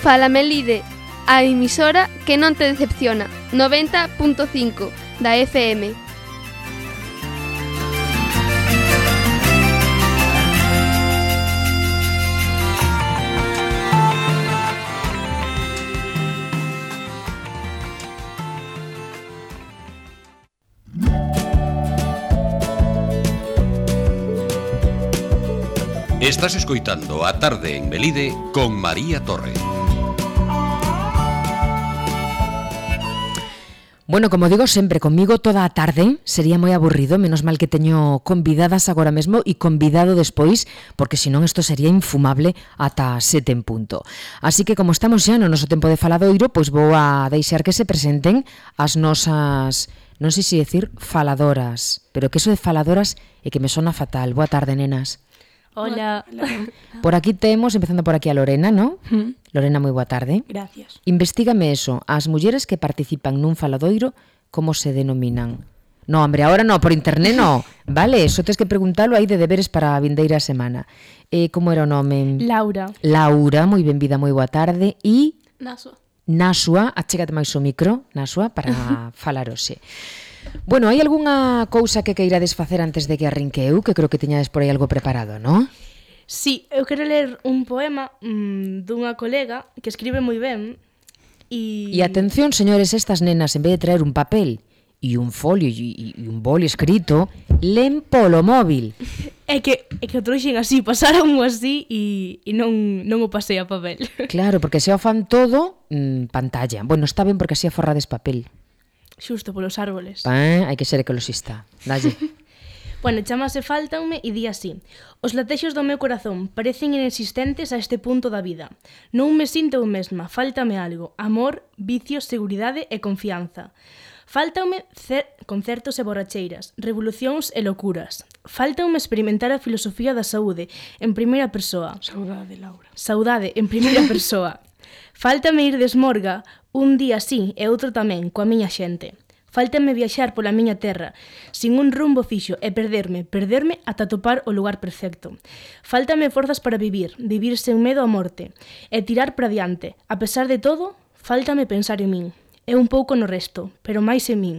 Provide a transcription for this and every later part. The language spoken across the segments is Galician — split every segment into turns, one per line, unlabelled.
Fala Melide, a emisora que non te decepciona, 90.5 da FM.
Estás escoitando A Tarde en Melide con María Torre.
Bueno, como digo sempre, comigo toda a tarde sería moi aburrido, menos mal que teño convidadas agora mesmo e convidado despois, porque senón isto sería infumable ata 7 en punto. Así que como estamos xa no noso tempo de faladoiro, pois vou a deixar que se presenten as nosas, non sei se decir faladoras, pero que eso de faladoras é que me sona fatal. Boa tarde, nenas.
Hola.
Por aquí temos, empezando por aquí a Lorena, ¿no? Lorena, moi boa tarde.
Gracias.
Investígame eso, as mulleres que participan nun faladoiro, como se denominan? No, hombre, ahora no, por internet no. Vale, eso tens que preguntalo aí de deberes para a vindeira semana. Como era o nome?
Laura.
Laura, moi benvida, moi boa tarde. E
Nasua,
achégate máis o micro, Nasua, para falar hoxe. Bueno, hai algunha cousa que queirades facer antes de que arrinque eu, que creo que teñades por aí algo preparado, non?
Sí, eu quero ler un poema dunha colega que escribe moi ben
E atención, señores, estas nenas, en vez de traer un papel e un folio e un boli escrito, len polo móvil.
É que o trouxen así, pasaron así e non o pasei a papel.
Claro, porque se o fan todo, pantalla. Bueno, está ben porque así aforrades papel.
Xusto polos árboles.
Hai que ser ecologista. Dalle.
Bueno, chamase Fáltanme e di así: os latexos do meu corazón parecen inexistentes a este punto da vida. Non me sinto eu mesma, fáltame algo: amor, vicios, seguridade e confianza. Fáltanme concertos e borracheiras, revolucións e locuras. Fáltanme experimentar a filosofía da saúde en primeira persoa.
Saudade, Laura.
Saudade en primeira persoa. Fáltame ir de esmorga un día sí e outro tamén coa miña xente. Fáltame viaxar pola miña terra sin un rumbo fixo e perderme ata topar o lugar perfecto. Fáltame forzas para vivir sen medo á morte e tirar para diante. A pesar de todo, fáltame pensar en min e un pouco no resto, pero máis en min,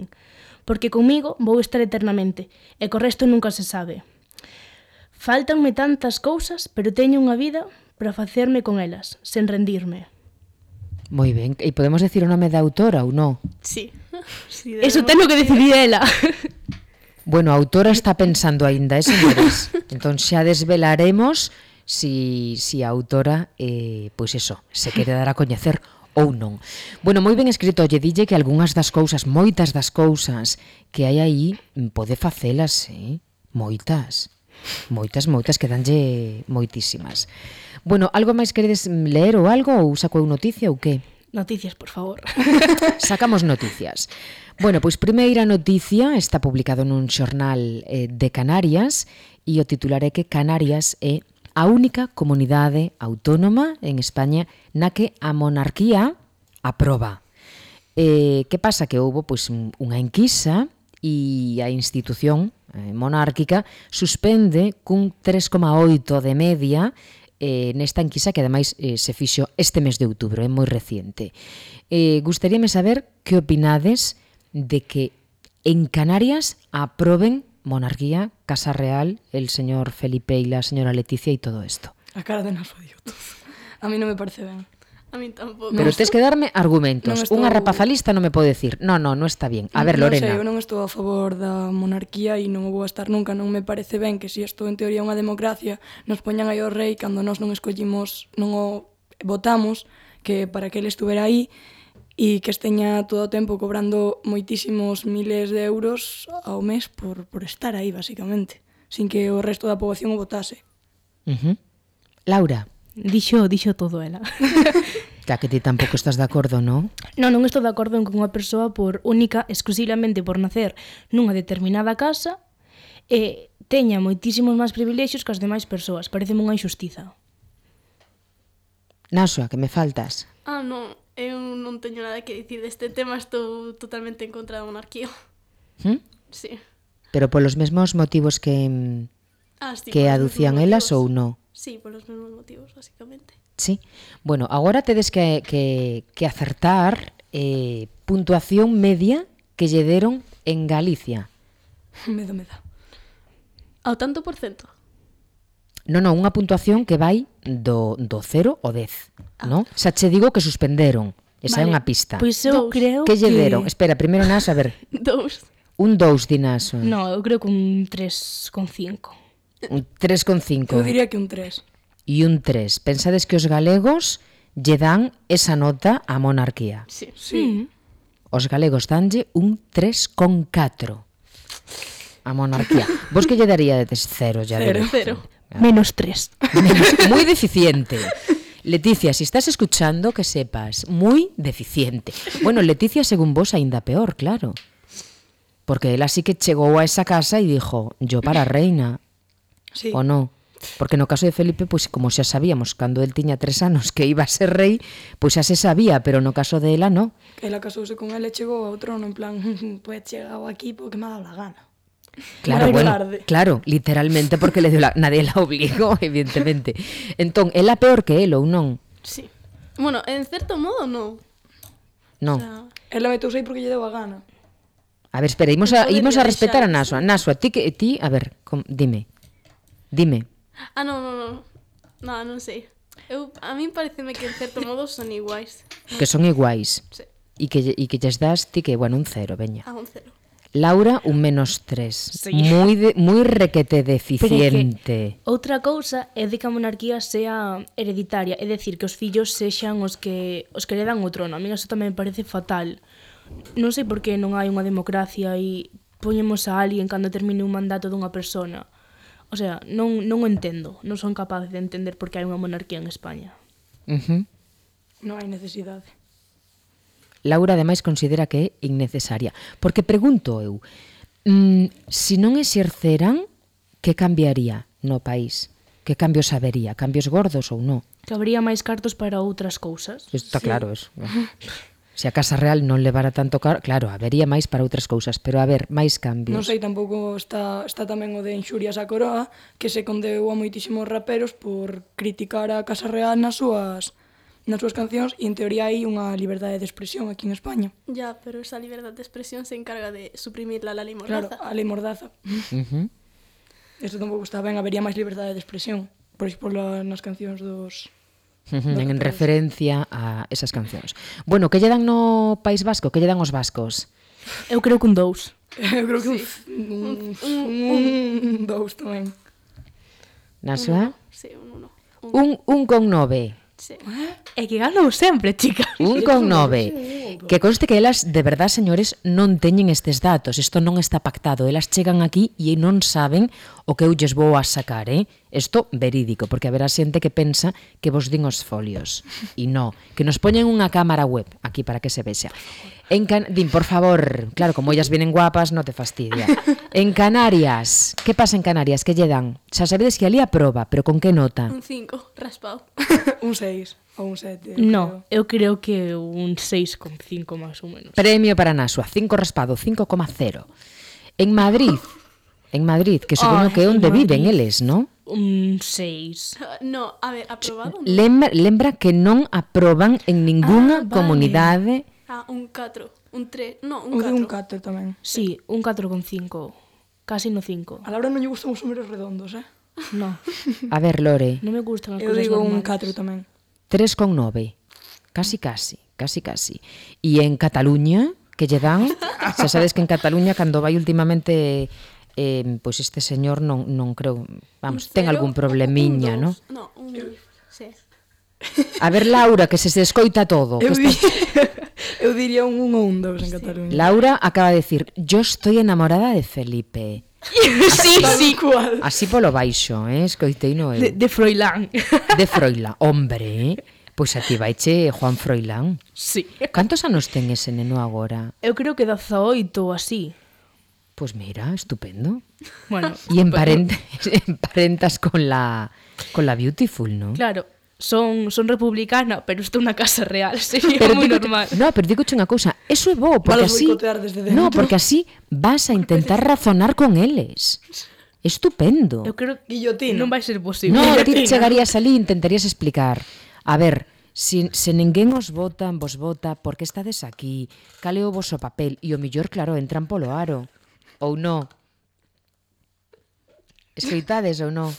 porque comigo vou estar eternamente e co resto nunca se sabe. Fáltanme tantas cousas, pero teño unha vida para facerme con elas, sen rendirme.
Moi ben, e podemos decir o nome da autora ou non?
Sí. Eso ten que decidir ela.
Bueno, a autora está pensando aínda, señores. Entón xa desvelaremos si a autora, pois eso, se quere dar a coñecer ou non. Bueno, moi ben escrito, lle dille que algunhas das cousas, moitas das cousas que hai aí, pode facelas, moitas, quedanlle moitísimas. Bueno, algo máis queredes ler ou algo, ou saco eu noticia ou que?
Noticias, por favor.
Sacamos noticias. Bueno, pois primeira noticia está publicado nun xornal de Canarias e o titular é que Canarias é a única comunidade autónoma en España na que a monarquía aproba. Que pasa? Que houbo pois unha enquisa e a institución monárquica suspende cun 3,8 de media nesta enquisa que ademais se fixo este mes de outubro, é moi reciente. Gustaríame saber que opinades de que en Canarias aproben monarquía, Casa Real, el señor Felipe e la señora Leticia e todo isto.
A cara de Nasua dio todo. A mí non me parece ben.
A mí tampouco.
Pero tens que darme argumentos. Unha rapazalista non me pode decir non está bien. A ver, Lorena.
Non sei, eu non estou a favor da monarquía e non o vou a estar nunca. Non me parece ben que se isto en teoría é unha democracia nos poñan aí o rei cando nós non escollimos, non o votamos, que para que ele estuvera aí e que esteña todo o tempo cobrando moitísimos miles de euros ao mes por estar aí, basicamente, sin que o resto da poboación o votase.
Laura.
Dixo todo ela.
Que ti tampouco estás de acordo, non?
Non estou de acordo en que unha persoa por única, exclusivamente por nacer nunha determinada casa teña moitísimos máis privilexios que as demais persoas. Pareceme unha injustiza.
Nasua, que me faltas.
Non, eu non teño nada que dicir deste tema, estou totalmente en contra da monarquía.
Sí. Pero polos mesmos motivos que
sí,
aducían elas ou non?
Sí, por los mesmos motivos, básicamente.
Sí. Bueno, agora tedes que acertar puntuación media que lle deron en Galicia.
Me dá.
Ao tanto por cento.
Non, unha puntuación que vai do 0 ao 10, non? Xa che digo que suspenderon. Esa é
Vale.
unha pista.
Pois eu
Dous.
creo
Que lle deron? Espera, primeiro Naso, a ver.
2.
Un 2 di Naso.
No, eu creo que un 3,5.
Un 3,5.
Eu diría que un 3.
E un 3. Pensades que os galegos lle dan esa nota á monarquía.
Sí.
Sí.
Os galegos danlle un 3,4 á monarquía. Vos que lle daríades 0, ya
Cero.
veréis.
0.
Menos 3.
Muy deficiente. Leticia, si estás escuchando, que sepas, muy deficiente. Bueno, Leticia, según vos, aínda peor, claro. Porque ela sí que chegou a esa casa e dijo, yo para reina,
Sí.
o no. Porque no caso de Felipe, pues como xa sabíamos, cando el tiña 3 anos que iba a ser rei, pois xa se sabía, pero no caso de ela, no.
Ela casouse con ele e chegou ao trono en plan, pues chegado aquí porque me ha dado la gana.
Claro,
Moi
bueno,
tarde.
claro, literalmente porque nadie la obligó, evidentemente. Entón, ela peor que el ou non?
Sí. Bueno, en certo modo, no.
Non.
O sea,
Ela metouse aí porque lle deu a gana.
A ver, espera, imos a respetar a Naso. Naso, a ti, a ver, dime.
No, non sei. A min pareceme que en certo modo son iguais.
Que son iguais.
Sí,
E que lles das ti que, bueno, un 0, veña.
a un 0.
Laura, un -3.
Sí.
Moi requete deficiente.
Outra cousa é de que a monarquía sea hereditaria, é dicir, que os fillos sexan os que lle dan o trono. A mí eso tamén me parece fatal. Non sei por que non hai unha democracia e poñemos a alguén cando termine un mandato dunha persona. O sea, non o entendo. Non son capaz de entender por que hai unha monarquía en España.
Non hai necesidade.
Laura, ademais, considera que é innecesaria. Porque pregunto eu, se non exerceran, que cambiaría no país? Que cambios habería? Cambios gordos ou non?
Que habría máis cartos para outras cousas.
Está claro eso. Se a Casa Real non levara tanto claro, habería máis para outras cousas, pero a ver, máis cambios.
Non sei, tampouco está tamén o de inxurias á coroa, que se condeu a moitísimos raperos por criticar a Casa Real nas súas cancións e en teoría hai unha liberdade de expresión aquí en España.
Ya, pero esa liberdad de expresión se encarga de suprimir la ley
Claro,
mordaza.
a lei mordaza. Eso tampouco está ben, habería máis liberdade de expresión, por exemplo, nas cancións dos...
En referencia a esas cancións. Bueno, que lle dan no País Vasco? Que lle dan os vascos?
Eu creo que un 2.
Eu creo que un 2 tamén.
Nasua?
Sí, un 1.
Un con 9.
Sí.
É que ganou sempre, chica.
Un con 9. Que conste que elas, de verdad, señores, non teñen estes datos. Isto non está pactado. Elas chegan aquí e non saben o que eu lles vou a sacar, Isto verídico, porque haberá xente que pensa que vos din os folios. E non, que nos poñen unha cámara web aquí para que se vexa. Din, por favor, claro, como ellas vienen guapas, no te fastidia. En Canarias, que pasa en Canarias? Que lle dan? Xa sabedes que ali aproba, pero con que nota?
Un 5, raspado.
Un 6 ou un 7.
No, eu creo que un 6,5 máis ou menos.
Premio para Nasua, 5 raspado, 5,0. En Madrid, que supoño que é onde viven eles, non?
Un 6.
No, a ver, aprobado. No.
Lembra que non aproban en ningunha
Vale.
comunidade.
Un 4, un 3, no,
O de un
un
4 tamén.
Sí, un 4,5. Casi no 5.
A Laura non lle gustan os números redondos,
No,
A ver, Lore,
non me gustan as
Eu
cousas
digo un
normales.
4 tamén.
3,9. Casi. E en Cataluña, que lle dan, xa sabes que en Cataluña, cando vai últimamente, pois este señor non creo, vamos, ten algún problemiña, non?
No, un... Sí.
A ver, Laura, que se escoita todo. Que
Eu diría un 1 ou un 2 en Cataluña.
Laura acaba de decir, yo estoy enamorada de Felipe.
Sí.
Cual.
Así polo baixo, escoitei no eu.
De Froilán.
De Froilán, hombre, pois a ti vaiche Juan Froilán.
Sí.
Cantos anos ten ese neno agora?
Eu creo que 18 ou así.
Pois mira, estupendo.
Bueno,
E emparentas con la Beautiful, ¿no?
claro, son republicana, pero estou na Casa Real, sería moi normal.
No, pero digo unha cousa, eso é bo, porque
Valos
así
boicotear desde dentro.
no, porque así vas a intentar razonar con eles. Estupendo.
Eu creo que
Guillotina.
non vai ser posible.
No, ti chegarías ali e intentarías explicar. A ver, se ninguén os vota, vos vota, por que estades aquí? Cal é o voso papel? E o millor, claro, entran polo aro. Ou non? Escoitades ou non?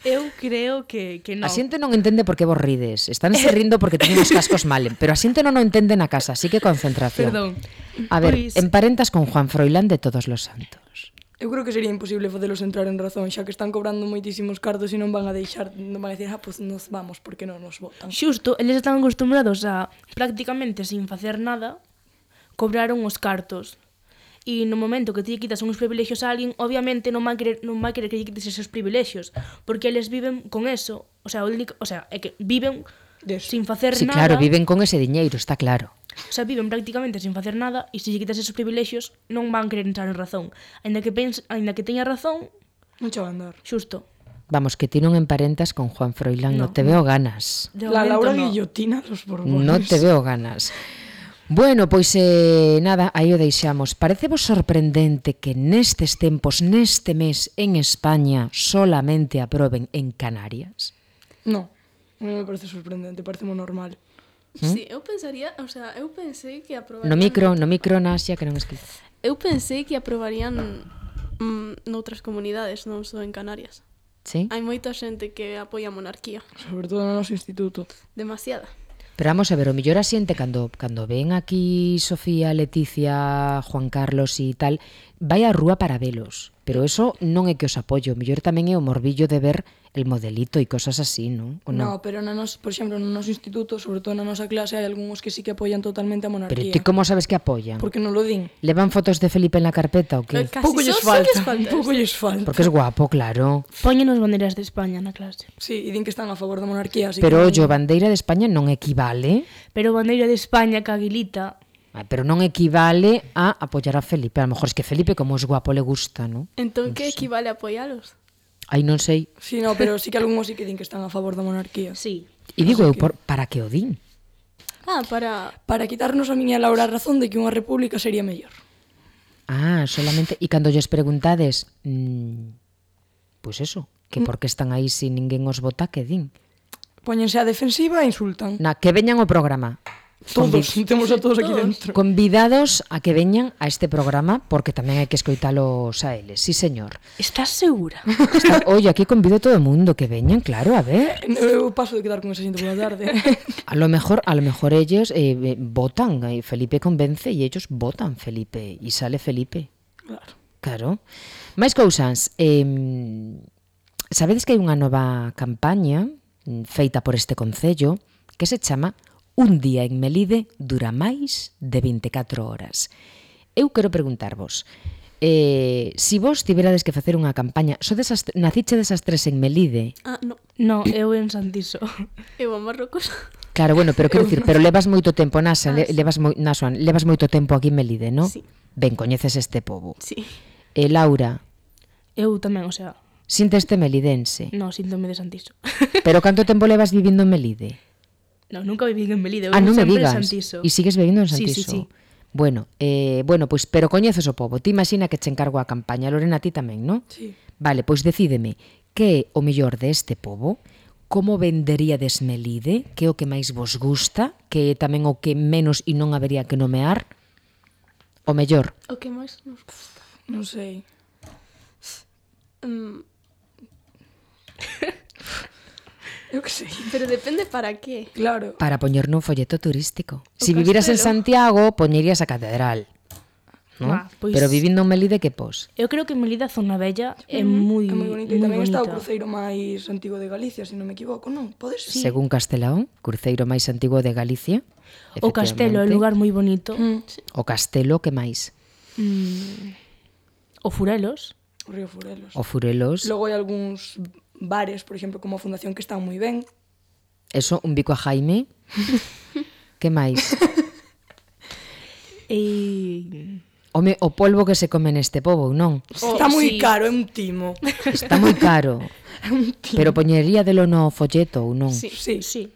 Eu creo que non.
A xente non entende por que vos rides. Estánse rindo porque teñen os cascos mal. Pero a xente non o entende na casa, así que concentración.
Perdón.
A ver,
Pois-
emparentas con Juan Froilán de Todos los Santos.
Eu creo que sería imposible facelos entrar en razón, xa que están cobrando moitísimos cartos e non van a deixar, non van a decir, pues nos vamos porque non nos votan.
Xusto, eles están acostumbrados a prácticamente sin facer nada cobraron os cartos. E no momento que ti quitas uns privilexios a alguén, obviamente non vai querer que lle quites esos privilexios, porque eles viven con eso, é que viven sin facer
Sí,
nada.
claro, viven con ese diñeiro, está claro.
O sea, viven prácticamente sin facer nada e se lle quitas esos privilexios non van querer entrar en razón. Aínda que teña razón,
Non che van dar.
xusto.
Vamos, que ti non emparentas con Juan Froilán, no,
No,
te veo ganas.
De
La
momento
Laura
no.
Guillotina dos Borbones.
No te veo ganas. Bueno, pois nada, aí o deixamos. Parecevos sorprendente que nestes tempos, neste mes, en España, solamente aproben en Canarias?
No, non me parece sorprendente, parece moi normal.
Sí, eu pensaría, o sea, eu pensei que aprobarían...
No micro, Nasia, que non escribe.
Eu pensei que aprobarían noutras comunidades, non só en Canarias.
Sí?
Hai moita xente que apoia a monarquía.
Sobre todo no noso instituto.
Demasiada.
Pero vamos a ver, o mellor a xente cando ven aquí Sofía, Leticia, Juan Carlos e tal, vai á rúa para velos. Pero eso non é que os apoio, o mellor tamén é o morbillo de ver el modelito e cosas así, non? O non?
No, pero por exemplo, no noso instituto, sobre todo na nosa clase, hai algúns que sí que apoian totalmente a
Pero
monarquía.
ti como sabes que apoian?
Porque non lo din.
Levan fotos de Felipe en la carpeta ou que?
Casi
Pouco lles
só
falta,
falta
pouco lles falta.
Porque es guapo, claro.
Póñenos bandeiras de España na clase.
Sí, e din que están a favor da monarquía, así
Pero
que...
ollo, bandeira de España non equivale,
Pero bandeira de España que Aguilita,
pero non equivale a apoyar a Felipe. A lo mejor es que Felipe, como es guapo, le gusta, ¿no?
Entón, que equivale a apoialos?
Aí non sei.
Sí, no, pero sí que algúns sí que din que están a favor da monarquía.
sí.
E digo eu, para que o din?
Ah, para...
Para quitarnos a miña Laura a razón de que unha república sería mellor.
Ah, solamente... E cando lles preguntades, pues eso, que por que están aí se ninguén os vota, que din?
Póñense a defensiva e insultan.
Na, que veñan ao programa.
Todos, temos a todos aquí dentro.
Convidados a que veñan a este programa, porque tamén hai que escoitalos a eles. Sí, señor.
Estás segura?
Oye, aquí convido a todo o mundo que veñan, claro, a ver.
Eu paso de quedar con esa xente pola tarde.
A lo mejor ellos votan, Felipe convence e ellos votan Felipe e sale Felipe.
Claro.
Claro. Máis cousas. Sabedes que hai unha nova campaña feita por este concello que se chama Un día en Melide dura máis de 24 horas. Eu quero preguntarvos, si vos tiverades que facer unha campaña, naciche desas tres en Melide?
Ah, no.
No, eu en Santiso.
Eu a Marrocos.
Claro, bueno, pero quero dicir, pero levas moito tempo, Nasa, levas moito tempo aquí en Melide, non?
Sí.
Ben, coñeces este pobo.
Sí.
E Laura,
Eu tamén, o sea,
sinteste melidense.
no, síntome de Santiso.
Pero canto tempo levas vivindo en Melide?
No, nunca viví en Melide, eu
Non me
sempre en
digas.
Santiso.
E sigues vivindo en
Sí,
Santiso?
sí, sí.
Bueno, pois, pero coñeces o pobo. Ti imagina que che encargo a campaña. Lorena, ti tamén, non?
Sí.
Vale, pois decídeme, que é o mellor deste pobo? Como venderíades Melide? Que é o que máis vos gusta? Que é tamén o que menos e non habería que nomear? O mellor.
O que máis nos gusta?
Non sei. Eu que sei.
Pero depende para qué.
Claro.
Para poñer nun folleto turístico. Si
O
viviras en
castelo.
Santiago, poñerías a catedral. ¿No?
Pois-
Pero vivindo en Melide, que pos?
Eu creo que Melide, a zona bella, é moi
É moi bonito. E
moi
tamén está o
bonita.
cruceiro máis antigo de Galicia, se non me equivoco, non? Pode ser?
Según Castelao, cruceiro máis antigo de Galicia.
O castelo é un
efectivamente.
lugar moi bonito.
O castelo, que máis?
O Furelos.
O río Furelos.
O Furelos.
Logo hai algúns bares, por exemplo, como a Fundación, que están moi ben.
Eso, un bico a Jaime. Que máis?
E...
Home, o polvo que se come neste pobo, non?
Está moi
sí.
caro, é un timo.
Está moi caro. Pero poñería delo no folleto ou non?
Sí.
Sí.
Sí,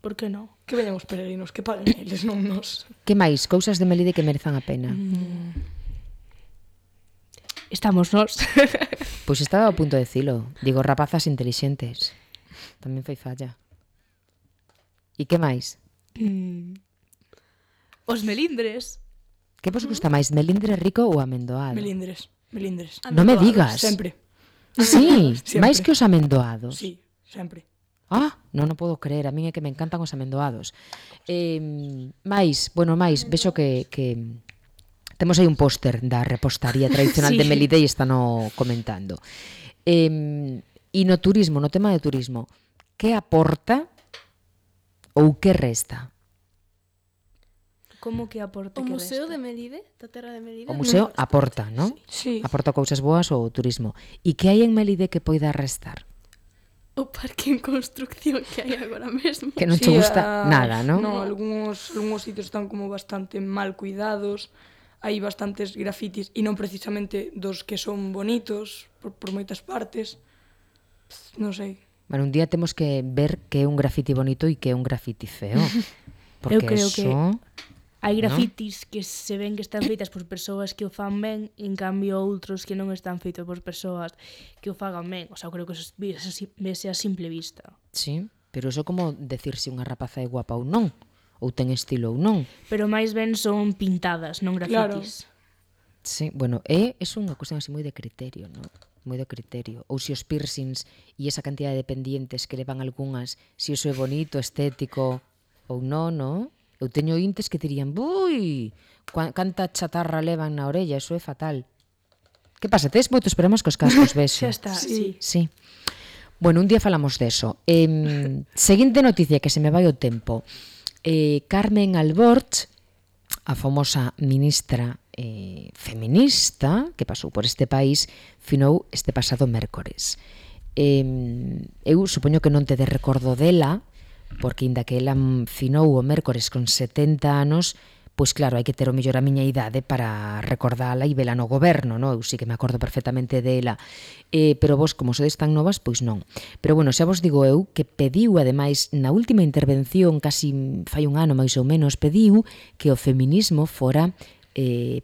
por que non?
Que veñan os peregrinos, que paguen eles, non nos.
Que máis? Cousas de Melide que merezan a pena.
estamos nós.
Pois estaba a punto de dicilo. Digo, rapazas intelixentes. Tamén foi falla. E que máis?
Os melindres.
Que vos gusta máis, melindre rico ou amendoado?
Melindres.
Non me digas.
Sempre.
Sí,
Sempre.
máis que os amendoados.
Sí, sempre.
Ah, non o podo creer, a min é que me encantan os amendoados. Mais, vexo que temos aí un póster da repostaría tradicional
Sí.
de Melide e están comentando. E no turismo, no tema de turismo, que aporta ou que resta?
Como que aporta
O
que
Museo
resta?
de Melide, da terra de Melide.
O museo aporta, non?
Sí.
Aporta cousas boas ao turismo. E que hai en Melide que poida restar?
O parque en construcción que hai agora mesmo.
Que non te gusta nada, non?
No, algúns sitios están como bastante mal cuidados, hai bastantes grafitis e non precisamente dos que son bonitos por moitas partes. Non sei.
Bueno, un día temos que ver que é un grafiti bonito e que é un grafiti feo. Porque
Eu creo
eso...
que hai grafitis que se ven que están feitas por persoas que o fan ben, en cambio outros que non están feitos por persoas que o fagan ben. O sea, eu creo que eso vese a simple vista.
Sí, pero eso como decir se unha rapaza é guapa ou non, ou ten estilo ou non.
Pero máis ben son pintadas, non grafitis.
Sí, bueno, é unha cuestión así moi de criterio, non? Moi de criterio. Ou se os piercings e esa cantidad de pendientes que levan algunhas, se iso é bonito, estético ou non, non? Eu teño intes que dirían, bui, canta chatarra levan na orella, eso é fatal. Que pasa, tes moitos problemas cos cascos, ves?
Xa está, sí.
Sí. Bueno, un día falamos deso. Seguinte noticia que se me vai o tempo. Carmen Alborch, a famosa ministra feminista que pasou por este país, finou este pasado mércores. Eu supoño que non te de recordo dela, porque inda que ela finou o mércores con 70 anos, pois claro, hai que ter o mellor a miña idade para recordala e vela no goberno, non? Eu sí que me acordo perfectamente dela, pero vos, como sodes tan novas, pois non. Pero bueno, xa vos digo eu que pediu, ademais, na última intervención, casi fai un ano máis ou menos, pediu que o feminismo fora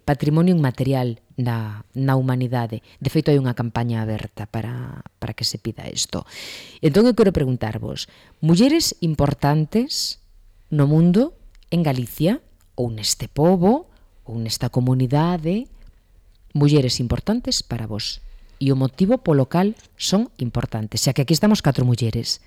patrimonio inmaterial na humanidade. De feito, hai unha campaña aberta para que se pida isto. Entón, eu quero preguntarvos, mulleres importantes no mundo, en Galicia, ou neste pobo, ou nesta comunidade, mulleres importantes para vos. E o motivo polo cal son importantes. Xa que aquí estamos 4 mulleres.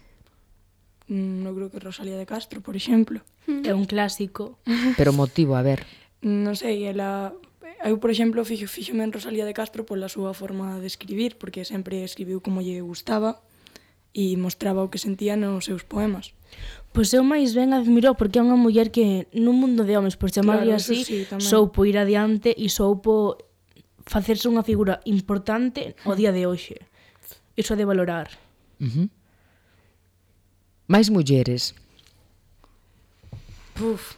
Non creo que Rosalía de Castro, por exemplo.
É un clásico.
Pero o motivo, a ver...
Non sei, eu, por exemplo, fíxome en Rosalía de Castro pola súa forma de escribir, porque sempre escribiu como lle gustaba e mostraba o que sentía nos seus poemas.
Pois eu máis ben admiro porque é unha muller que nun mundo de homes, por chamarlle
Claro,
así,
sí, tamén.
soupo ir adiante e soupo facerse unha figura importante o día de hoxe. Iso de valorar.
Máis mulleres.
Puf,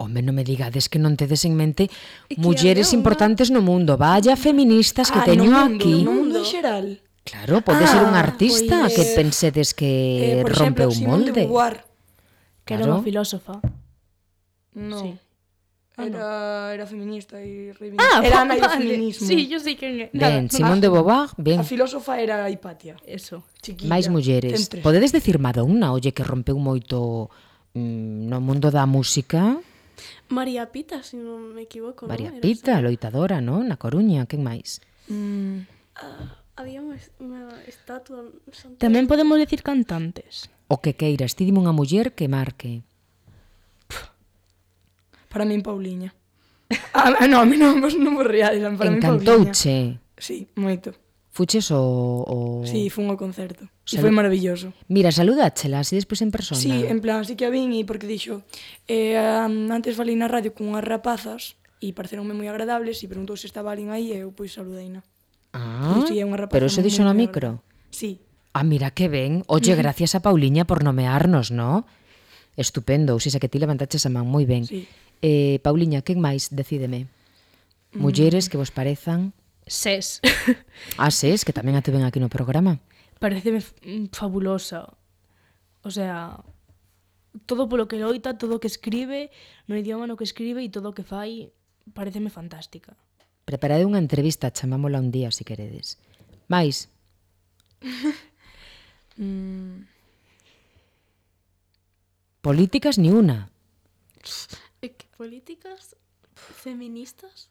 Home, non me digades que non tedes en mente
que
mulleres
había unha-
importantes no mundo. Vaya feministas que teño aquí.
No mundo en xeral.
Claro, pode ser un artista
pois,
que pensedes que
por
rompe
exemplo,
un
Simone
molde.
de Beauvoir.
Que era
Claro.
unha filósofa.
No.
Sí.
Era feminista e reivindica. Era Ana do feminismo.
Sí, yo sei quen é.
Ben, Simone de Beauvoir, ben.
A filósofa era Hipatia.
Eso.
Chiquilla.
Máis mulleres.
Ten 3.
Podedes decir Madonna, olle, que rompeu moito no mundo da música.
María Pita, se non me equivoco.
María
non? Era
Pita,
esa.
loitadora, non? Na Coruña, quen máis?
Había unha estatua... Santiago.
Tamén podemos decir cantantes.
O que queiras, ti dime unha muller que marque.
Para min, Pauliña. No, a mí non vos reales. Para min, Pauliña.
Encantouche.
Sí, moito.
Fuches o...
Sí, fun ao concerto. E
Salu-
foi maravilloso.
Mira, saludáchela, así despois en persona.
Sí, en plan, sí que a vin e porque dixo antes falei na radio con unhas rapazas e pareceronme moi agradables e preguntou se estaba alguén aí e eu pois saludeina.
Ah,
Sí, é unha rapaza
pero eso
moi,
dixo no
moi
micro.
agradable. Sí.
Ah, mira que ben. Oye, gracias a Pauliña por nomearnos, ¿no? Estupendo. Ou seja, que ti levantaches a man moi ben.
Sí.
Pauliña, quen máis? Decídeme. Mulleres que vos parezan...
Ses.
Ah, ses, que tamén a te ven aquí no programa.
Pareceme fabulosa. O sea, todo polo que loita, todo o que escribe, no idioma no que escribe e todo o que fai, pareceme fantástica.
Preparade unha entrevista, chamámola un día, se queredes. Mais, políticas ni una.
Que políticas feministas?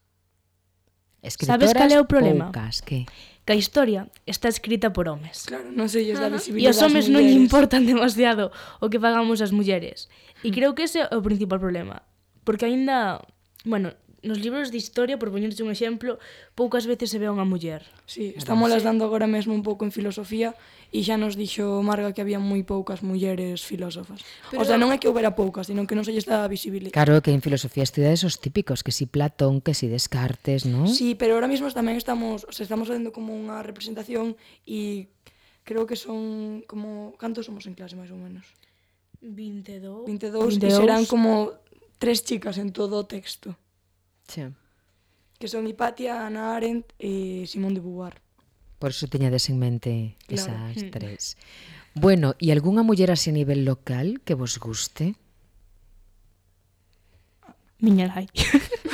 Escritoras
Sabes cal é o problema?
poucas, que?
Que a historia está escrita por homes.
Claro, non se lles dá
E
visibilidade
os homes non lle
mulleres.
importan demasiado o que fagamos as mulleres. E creo que ese é o principal problema. Porque aínda, bueno, nos libros de historia, por poñerse un exemplo, poucas veces se ve a unha muller.
Sí, estamos las dando agora mesmo un pouco en filosofía e xa nos dixo Marga que había moi poucas mulleres filósofas. O sea, non é que houbera poucas, sino que non se lles dá visibilidade.
Claro que en filosofía estudiades os típicos, que si Platón, que si Descartes, ¿no?
Sí, pero ahora mismo tamén estamos facendo como unha representación e creo que son como... Cantos somos en clase, máis ou menos?
22.
22 e serán como 3 chicas en todo o texto.
Sí.
Que son Hipatia, Hannah Arendt e Simone de Beauvoir.
Por eso teñades en mente
Claro.
esas tres. Bueno, e algunha muller así a nivel local que vos guste?
Miña nai.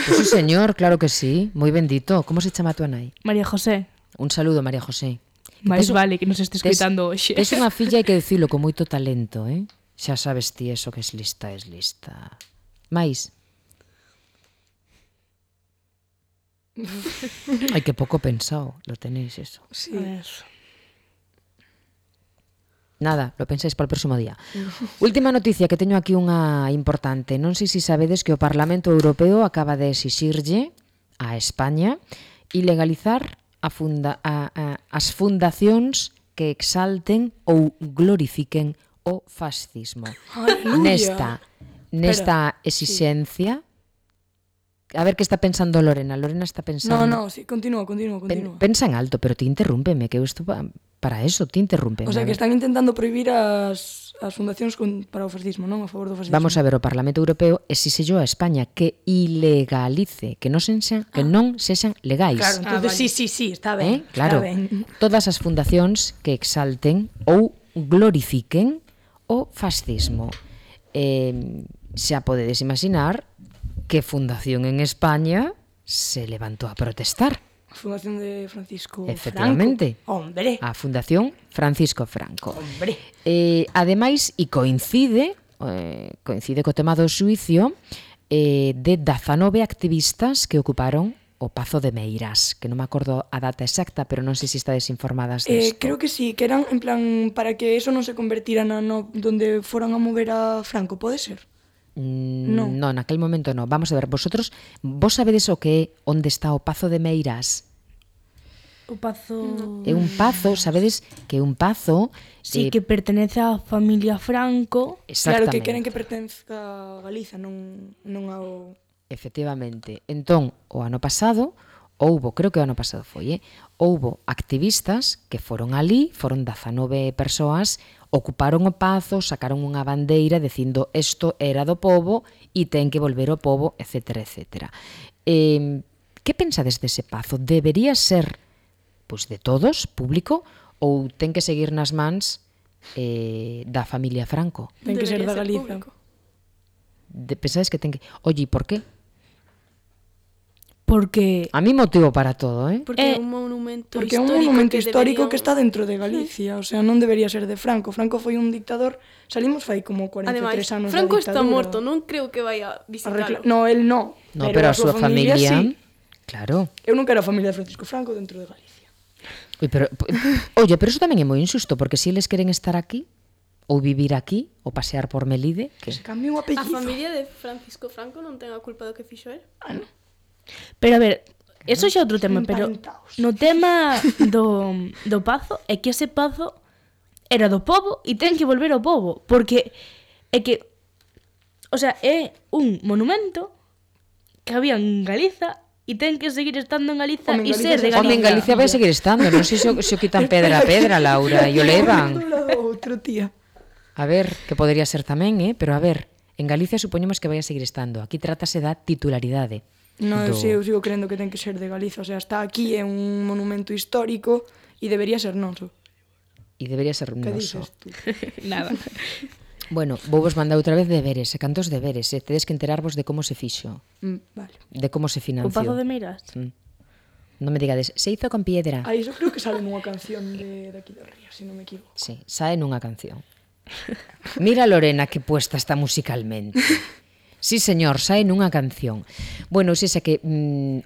Pues sí, señor, claro que sí. Moi bendito. Como se chama a tua nai?
María José.
Un saludo, María José.
Mais
Tes-
vale que nos estés escoitando hoxe.
Tes unha filla, hai que dicilo, con moito talento, eh? Xa sabes ti eso que es lista, es lista. Mais? Ai, que pouco pensado, lo tenéis eso.
Sí.
A ver.
Nada, lo pensáis para o próximo día. Última noticia, que teño aquí unha importante. Non sei se sabedes que o Parlamento Europeo acaba de exixirlle a España ilegalizar as fundacións que exalten ou glorifiquen o fascismo.
Aleluya.
Nesta exixencia... A ver que está pensando Lorena. Lorena está pensando...
No, sí, continúa.
Pensa en alto, pero ti interrúmpeme, que eu estou para eso, ti interrúmpeme.
O sea,
a
que
ver.
están intentando prohibir as fundacións para o fascismo, non? A favor do fascismo.
Vamos a ver, o Parlamento Europeo exixellou a España que ilegalice, que non sexan legais.
Claro, entonces
vale.
sí, está ben.
Claro,
Está ben.
todas as fundacións que exalten ou glorifiquen o fascismo. Xa podedes imaginar que fundación en España se levantou a protestar.
A fundación de Francisco
Efectivamente.
Franco. Hombre.
A Fundación Francisco Franco.
Hombre.
Ademais, e coincide co tema do xuicio de 19 activistas que ocuparon o Pazo de Meirás, que non me acordo a data exacta, pero non sei se estades informadas disto.
Creo que sí, que eran en plan para que eso non se convertira donde foran a mover a Franco, pode ser? No.
No, naquel momento no. Vamos a ver, vos sabedes o que é onde está o Pazo de Meirás?
O Pazo...
É un pazo, sabedes que é un pazo...
Sí, que pertenece á familia Franco.
Claro,
Exactamente.
que queren que pertenzca a Galiza, non ao...
Efectivamente. Entón, o ano pasado, creo que o ano pasado foi, houbo activistas que foron ali, foron 19 persoas, ocuparon o pazo, sacaron unha bandeira dicindo isto era do pobo e ten que volver ao pobo, etcétera, etcétera. Que pensades dese pazo? Debería ser pois de todos, público, ou ten que seguir nas mans da familia Franco?
Ten que ser da
Debería
Galiza.
público.
Pensades que ten que... Oye, por qué?
Porque...
A mí motivo para todo, eh?
Porque é un monumento
Porque é un monumento histórico que está dentro de Galicia, o sea, non debería ser de Franco. Franco foi un dictador, salimos fai como 43
Ademais,
anos
Franco
da dictadura.
está morto, non creo que vai a visitarlo.
No, él no.
No, pero a súa familia...
sí.
Claro.
Eu non quero a familia de Francisco Franco dentro de Galicia.
Oye, pero eso tamén é moi injusto, porque se eles queren estar aquí, ou vivir aquí, ou pasear por Melide, que...
Se cambie o
A
apellido.
familia de Francisco Franco non ten a culpa do que fixo él.
Pero a ver, eso xa é outro tema, pero
Empantaos.
no tema do pazo é que ese pazo era do pobo e ten que volver ao pobo, porque é que, o sea, é un monumento que había en Galiza e ten que seguir estando en Galiza
Home, en
e
Galiza
ser de
xa
Galiza.
Home, en Galicia vai seguir estando, non sei se o quitan pedra a pedra, Laura, e o levan.
Outro, tía.
A ver, que podería ser tamén, pero a ver, en Galicia supoñemos que vai a seguir estando. Aquí trátase da titularidade.
No, eu sigo crendo que ten que ser de Galiza, o sea, está aquí, é un monumento histórico e debería ser noso.
E debería ser
Que
noso.
dices tú?
Nada.
Bueno, vou vos mandar outra vez deberes, e cantos deberes, tedes que enterarvos de como se fixo,
Vale.
de como se
O
financió.
Pazo de Meirás?
Non me digades, se hizo con piedra.
Ah, iso creo que sale nunha canción de aquí do Río, se non me equivoco.
Sí, sae nunha canción. Mira Lorena que puesta está musicalmente. Sí, señor, sae nunha canción. Bueno, xa que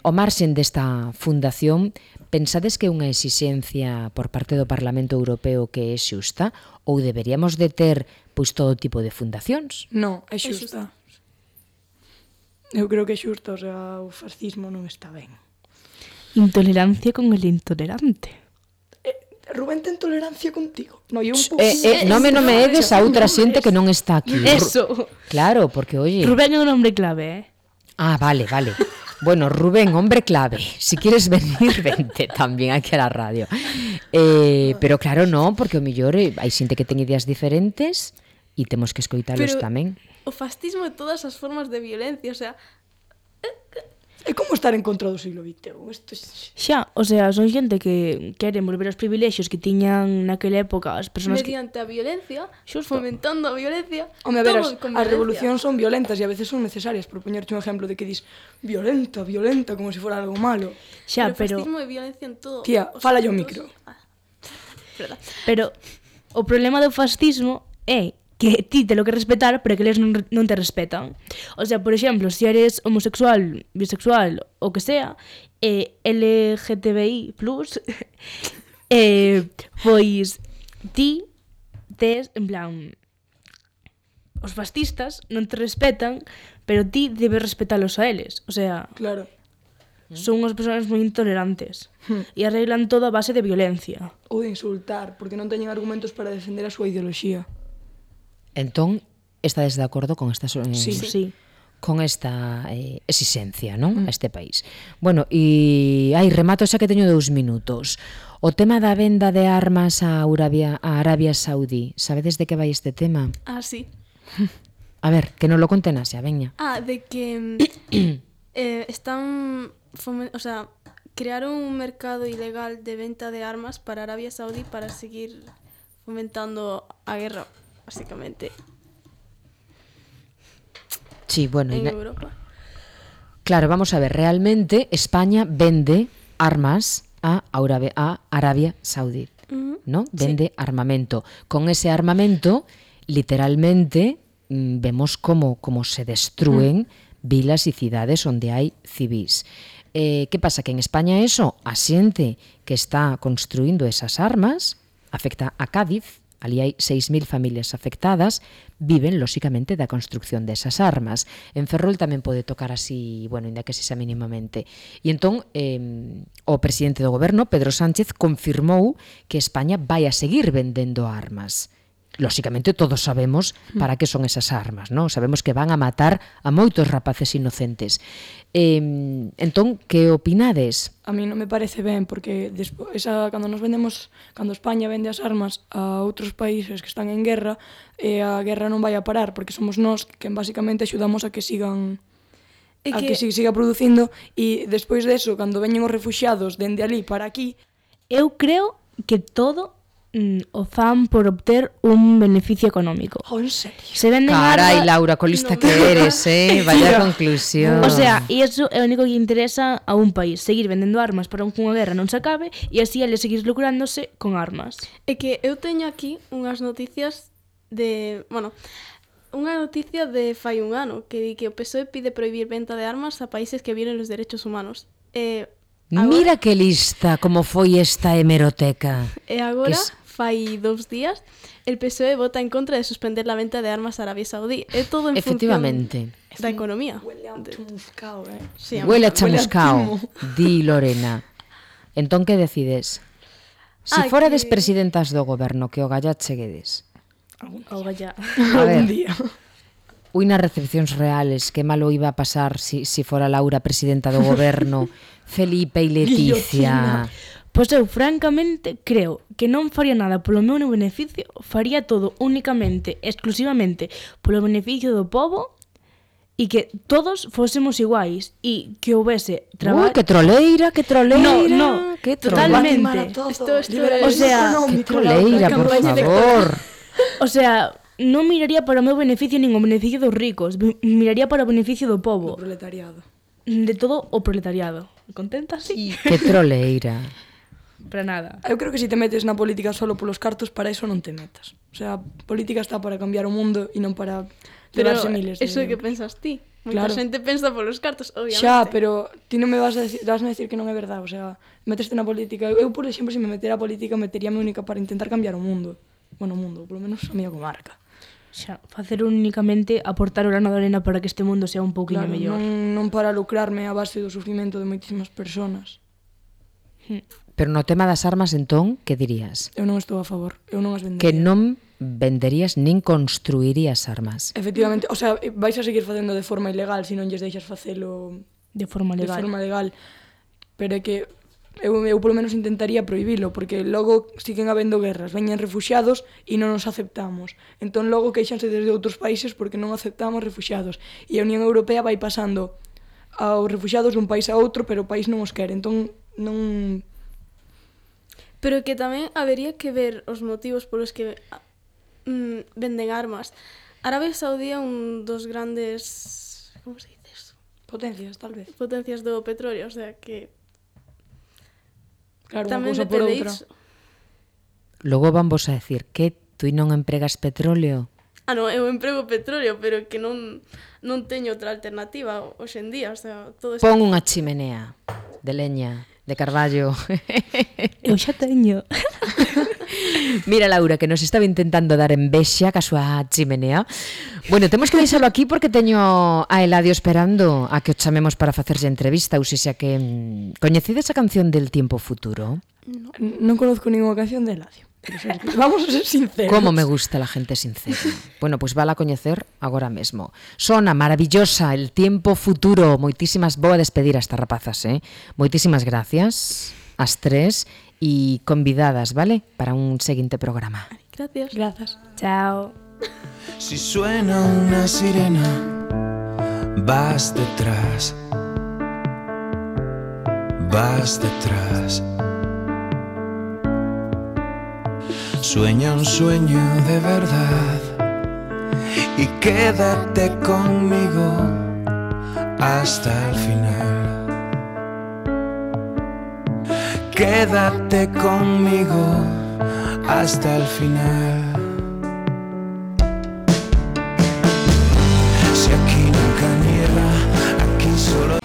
o marxen desta fundación, pensades que é unha exixencia por parte do Parlamento Europeo que é xusta ou deberíamos de ter pois todo tipo de fundacións?
Non, é xusta. Eu creo que é xusta, o sea, o fascismo non está ben.
Intolerancia con el intolerante.
Rubén ten tolerancia contigo. No, eu un pouco...
Non me edes a outra xente que non está aquí.
Eso.
Claro, porque, oye...
Rubén é un hombre clave,
Ah, vale. Bueno, Rubén, hombre clave. Si quieres venir, vente tamén aquí a la radio. Pero claro, non, porque o mellor hai xente que ten ideas diferentes e temos que escoitalos tamén.
O fascismo e todas as formas de violencia, o sea,
É como estar en contra do siglo XXI. Isto
Xa, o sea, son xente que queren volver aos privilexios que tiñan naquela época as persoas que...
mediante a violencia,
Xusto.
fomentando a violencia,
Home, a ver,
todo con
as
violencia.
revolucións son violentas e a veces son necesarias, por poñerte un exemplo de que dis violenta, como se fora algo malo.
Xa,
pero
pero...
fascismo e violencia en todo.
Tía,
os
fala yo
aspectos.
micro.
Verdad.
Pero o problema do fascismo é que ti te lo que respetar, pero que eles non te respetan. O sea, por exemplo, se eres homosexual, bisexual, o que sea, LGTBI+, pois ti tes, en plan, os fascistas non te respetan, pero ti debes respetalos a eles. O sea,
Claro.
son unhas persoas moi intolerantes e arreglan todo a base de violencia.
Ou de insultar, porque non teñen argumentos para defender a súa ideoloxía.
Entón, estades de acordo con esta
Sí.
con esta exixencia, non? A este país. Bueno, e remato xa que teño 2 minutos. O tema da venda de armas a Arabia Saudí, sabedes de que vai este tema?
Ah, sí.
A ver, que non lo conten xa, veña.
Ah, de que están... o sea, crearon un mercado ilegal de venta de armas para Arabia Saudí para seguir fomentando a guerra, básicamente,
Sí, bueno,
en Europa.
claro, vamos a ver, realmente España vende armas a Arabia Saudí, ¿no? Vende armamento. Con ese armamento, literalmente, vemos como se destruen vilas e cidades onde hai civís. Que pasa? Que en España eso, a xente que está construindo esas armas, afecta a Cádiz, ali hai 6.000 familias afectadas, viven, lóxicamente, da construcción desas armas. En Ferrol tamén pode tocar así, bueno, ainda que sexa mínimamente. E entón, o presidente do goberno, Pedro Sánchez, confirmou que España vai a seguir vendendo armas. Lóxicamente, todos sabemos para que son esas armas, non? Sabemos que van a matar a moitos rapaces inocentes. Entón, que opinades?
A mí non me parece ben, porque cando España vende as armas a outros países que están en guerra, a guerra non vai a parar, porque somos nós que basicamente axudamos a que sigan que siga producindo, e despois deso, cando veñen os refuxiados dende ali para aquí,
Eu creo que todo o fan por obter un beneficio económico.
en serio.
Se venden
Carai,
armas...
Laura, colista que eres, vaya conclusión.
O sea, e iso é o único que interesa a un país, seguir vendendo armas para que unha guerra non se acabe e así eles seguir lucrándose con armas.
É que eu teño aquí unhas noticias de... Bueno, unha noticia de fai un ano que di que o PSOE pide prohibir venta de armas a países que violen los derechos humanos.
Mira que lista como foi esta hemeroteca.
E agora,
Que
fai 2 días, el PSOE vota en contra de suspender la venta de armas a Arabia Saudí. É todo en
Efectivamente.
función da economía.
Huele a chamuscao,
Sí,
Huele a chamuscao,
timo.
di Lorena. Entón, que decides? Si forades presidentas do goberno, que o galla cheguedes.
Oga ya.
A ver,
Algún día.
unas recepcións reales, que malo iba a pasar si fora Laura presidenta do goberno, Felipe e Leticia.
Pois eu, francamente, creo que non faría nada polo meu beneficio, faría todo únicamente, exclusivamente, polo beneficio do povo e que todos fósemos iguais e que houvese traballo...
Que troleira, que troleira.
No,
que
totalmente.
Esto es
O sea,
Que troleira, por favor.
O sea, non miraría para o meu beneficio nin o beneficio dos ricos, miraría para o beneficio do
Do
povo,
proletariado.
de todo o proletariado. Contenta, sí?
Que troleira.
Para nada.
Eu creo que se te metes na política solo polos cartos, para eso non te metas. O sea, a política está para cambiar o mundo e non para
Pero
levarse miles de
eso é que
euros.
pensas ti. Moita
Claro.
xente pensa polos cartos, obviamente.
Xa, pero ti non me vas a decir que non é verdade. O sea, meteste na política. Eu, por exemplo, se me metera a política, meteríame única para intentar cambiar o mundo. Bueno, o mundo, polo menos a miña comarca.
Xa, facer únicamente aportar o grano de arena para que este mundo sea un pouquinho
Claro,
mellor.
non para lucrarme a base do sufrimento de moitísimas personas.
Pero no tema das armas, entón, que dirías?
Eu non estou a favor. Eu non as vendería.
Que non venderías nin construirías armas.
Efectivamente, o sea, vais a seguir facendo de forma ilegal se non lles deixas facelo
De forma
de
legal.
forma legal. Pero é que eu polo menos intentaría prohibilo, porque logo siguen habendo guerras, veñen refuxiados e non nos aceptamos. Entón logo queixanse desde outros países porque non aceptamos refuxiados. E a Unión Europea vai pasando aos refuxiados dun país a outro, pero o país non os quere. Entón non...
Pero que tamén habería que ver os motivos polos que venden armas. Arabia Saudí é un dos grandes... Como se dice eso?
Potencias, tal vez.
Potencias do petróleo, o sea que...
Claro, unha
Tamén
cousa por
depende
outra.
iso.
Logo vamos a decir que tú non empregas petróleo.
Ah, non, eu emprego petróleo, pero que non teño outra alternativa hoxe en día, o sea, todo isto...
Pon unha chimenea de leña, de carballo.
Eu xa teño.
Mira, Laura, que nos estaba intentando dar envexa ca súa chimenea. Bueno, temos que deixalo aquí porque teño a Eladio esperando a que o chamemos para facerlle entrevista. Ou sexa que... coñecides a canción del tiempo futuro?
Non conozco ninguna canción de Eladio. Vamos a ser sinceros.
Como me gusta la gente sincera. Bueno, pues vala a coñecer agora mesmo. Sona maravillosa, el tiempo futuro. Moitísimas, vou a despedir a estas rapazas, Moitísimas gracias as tres e convidadas, vale? Para un seguinte programa.
Gracias.
Grazas.
Chao.
Si suena una sirena, vas detrás, vas detrás. Sueña un sueño de verdad y quédate conmigo hasta el final. Quédate conmigo hasta el final. Si aquí nunca nieva, aquí solo...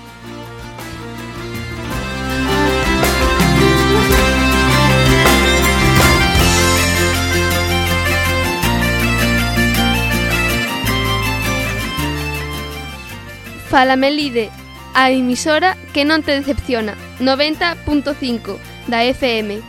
Fala Melide, a emisora que non te decepciona, 90.5 da FM.